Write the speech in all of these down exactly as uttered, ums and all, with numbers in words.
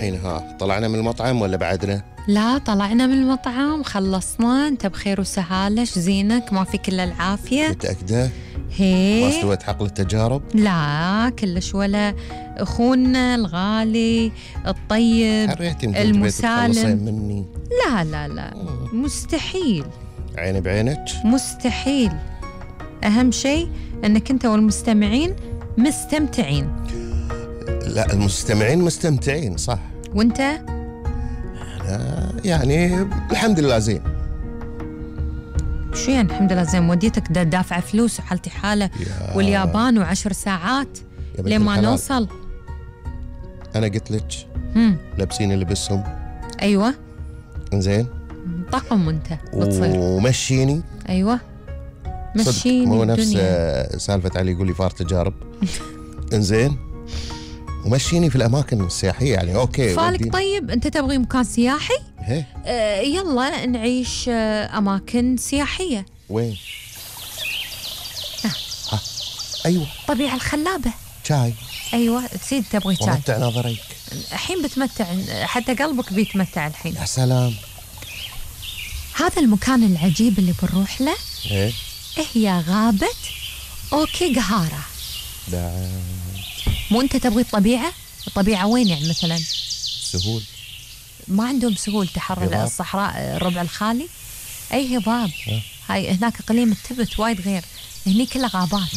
الحين ها طلعنا من المطعم ولا بعدنا؟ لا طلعنا من المطعم، خلصنا. انت بخير وسهالة، زينك؟ ما في كل العافية؟ متأكدة؟ هي ما استويت حقل التجارب؟ لا كلش، ولا اخونا الغالي الطيب المسالم مني. لا لا لا مستحيل، عيني بعينك مستحيل. اهم شيء انك انت والمستمعين مستمتعين. لا المستمعين مستمتعين صح، وانت؟ أنا يعني الحمد لله زين. شو يعني الحمد لله زين؟ موديتك دافع فلوس وحالتي حالة واليابان وعشر ساعات لين ما نوصل. أنا قلت لك لابسين لبسهم. أيوة إنزين طقم وانت بتصير ومشيني. أيوة مشيني. مو نفس سالفة علي يقول لي فار تجارب. إنزين ومشيني في الأماكن السياحية يعني. أوكي فالك طيب أنت تبغي مكان سياحي؟ آه يلا نعيش آه أماكن سياحية. وين؟ ها. ها. أيوة طبيعة الخلابة. شاي. أيوة سيد تبغي شاي. ومتع نظريك الحين بتمتع، حتى قلبك بيتمتع الحين. يا سلام. هذا المكان العجيب اللي بنروح له إيه هي غابة أوكيغهارا. بعد مو أنت تبغي الطبيعة؟ الطبيعة وين يعني مثلا؟ سهول. ما عندهم سهول، تحر الصحراء الربع الخالي. أي هضاب. هاي هناك إقليم التبت وايد غير، هني كلها غابات.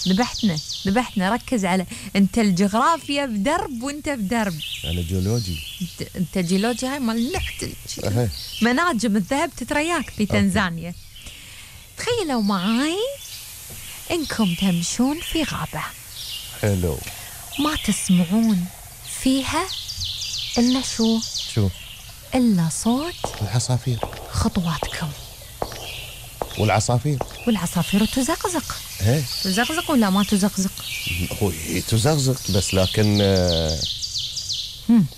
ذبحتنا ذبحتنا. ركز على أنت الجغرافيا بدرب وأنت بدرب. أنا جيولوجي. أنت جيولوجي. هاي مال نحت مناجم الذهب تترياك في تنزانيا. تخيلوا معاي إنكم تمشون في غابة حلو، ما تسمعون فيها إلا شو؟ شو؟ إلا صوت العصافير. خطواتكم. والعصافير والعصافير تزقزق. ايه تزقزق ولا ما تزقزق؟ هو تزقزق بس لكن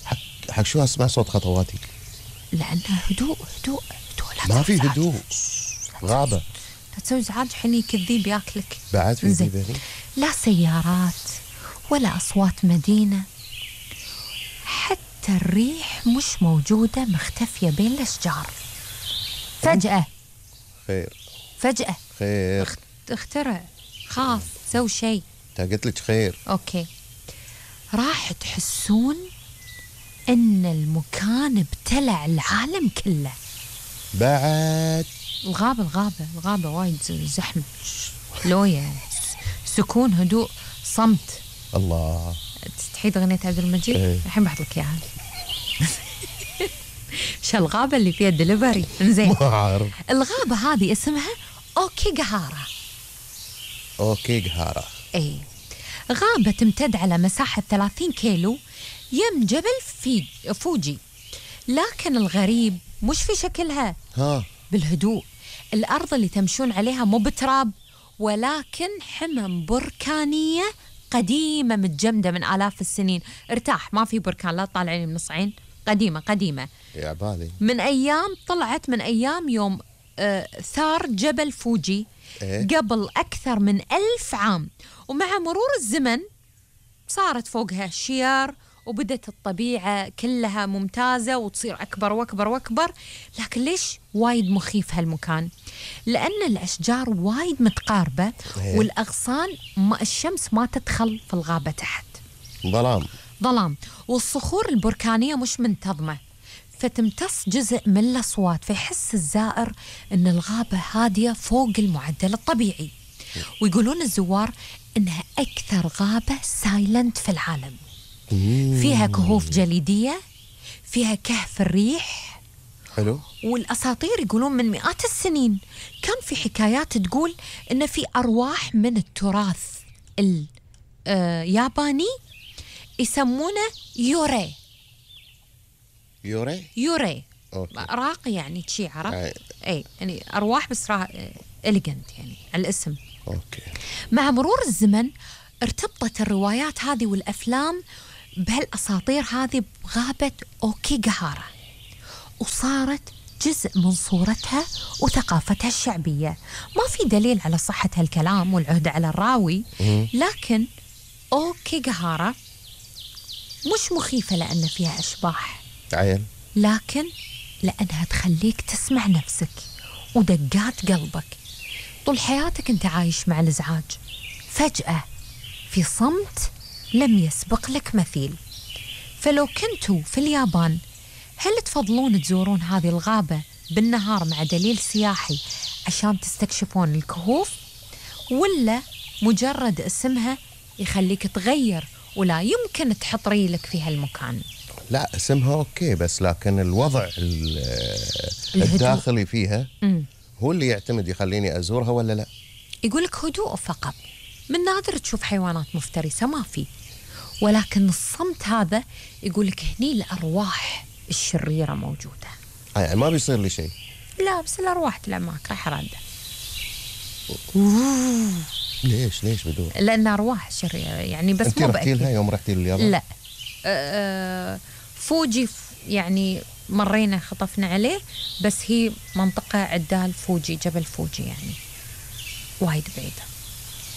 حق حق شو اسمع صوت خطواتي؟ لأنه هدوء هدوء هدوء. لا ما في هدوء، غابة. لا تسوي ازعاج حين كذيب ياكلك. بعد في ذي لا سيارات ولا أصوات مدينة، حتى الريح مش موجودة، مختفية بين الأشجار. فجأة خير فجأة خير اخترع، خاف، سوي شيء. تا قلت لك خير. أوكي، راح تحسون إن المكان ابتلع العالم كله. بعد الغابة الغابة الغابة وايد زحمة، لوية، سكون، هدوء، صمت. الله. تستحيد أغنية عبد المجيد؟ الحين بحط لك إياها. شو الغابة اللي فيها دليفري؟ إنزين ما أعرف. الغابة هذه اسمها أوكيغهارا. أوكيغهارا إيه، غابة تمتد على مساحة ثلاثين كيلو يم جبل في فوجي. لكن الغريب مش في شكلها، ها بالهدوء. الأرض اللي تمشون عليها مو بتراب، ولكن حمم بركانية قديمة متجمدة من آلاف السنين. ارتاح، ما في بركان، لا تطالعني من نصعين. قديمة قديمة يا بالي، من أيام طلعت من أيام يوم آه ثار جبل فوجي. إيه؟ قبل أكثر من ألف عام. ومع مرور الزمن صارت فوقها شيار، وبدت الطبيعة كلها ممتازة وتصير أكبر وأكبر وأكبر. لكن ليش وايد مخيف هالمكان؟ لأن الأشجار وايد متقاربة، إيه؟ والأغصان ما الشمس ما تدخل في الغابة تحت، ظلام ظلام. والصخور البركانية مش منتظمة، فتمتص جزء من الأصوات، فيحس الزائر أن الغابة هادية فوق المعدل الطبيعي. ويقولون الزوار أنها أكثر غابة سايلنت في العالم. فيها كهوف جليدية، فيها كهف الريح. حلو. والأساطير يقولون من مئات السنين كان في حكايات تقول أن في أرواح من التراث الياباني يسمونه يوري. يوري يوري أوكي. راقي يعني شي، عرفت؟ أي. اي يعني ارواح بس را... إليجنت يعني على الاسم. اوكي. مع مرور الزمن ارتبطت الروايات هذه والافلام بهالاساطير هذه بغابة أوكيغهارا، وصارت جزء من صورتها وثقافتها الشعبية. ما في دليل على صحة هالكلام والعهدة على الراوي، لكن أوكيغهارا مش مخيفة لأن فيها أشباح، عيل. لكن لأنها تخليك تسمع نفسك ودقات قلبك. طول حياتك أنت عايش مع الإزعاج، فجأة في صمت لم يسبق لك مثيل. فلو كنتوا في اليابان، هل تفضلون تزورون هذه الغابة بالنهار مع دليل سياحي عشان تستكشفون الكهوف، ولا مجرد اسمها يخليك تغير ولا يمكن تحط ريلك في هالمكان؟ لا اسمها أوكي، بس لكن الوضع الداخلي فيها م. هو اللي يعتمد يخليني أزورها ولا لا. يقولك هدوء فقط، من نادر تشوف حيوانات مفترسة، ما في، ولكن الصمت هذا يقولك هني الأرواح الشريرة موجودة. آه يعني ما بيصير لي شيء؟ لا، بس الأرواح تلعب معك راح رادة. ليش ليش بدون؟ لأن أرواح شريرة يعني، بس أنت مو رحتي لها يوم رحتي لليابان؟ لا. أه فوجي يعني مرينا خطفنا عليه، بس هي منطقة عدال فوجي، جبل فوجي يعني وايد بعيدة.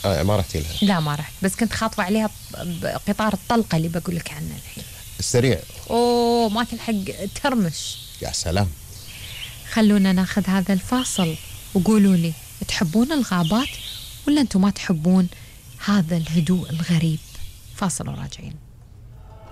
آه ما رحتي لها؟ لا ما رحت، بس كنت خاطفة عليها بقطار الطلقة اللي بقول لك عنه الحين، السريع. أوه ما تلحق ترمش. يا سلام. خلونا ناخذ هذا الفاصل وقولوا لي، تحبون الغابات ولا أنتم ما تحبون هذا الهدوء الغريب؟ فاصل وراجعين.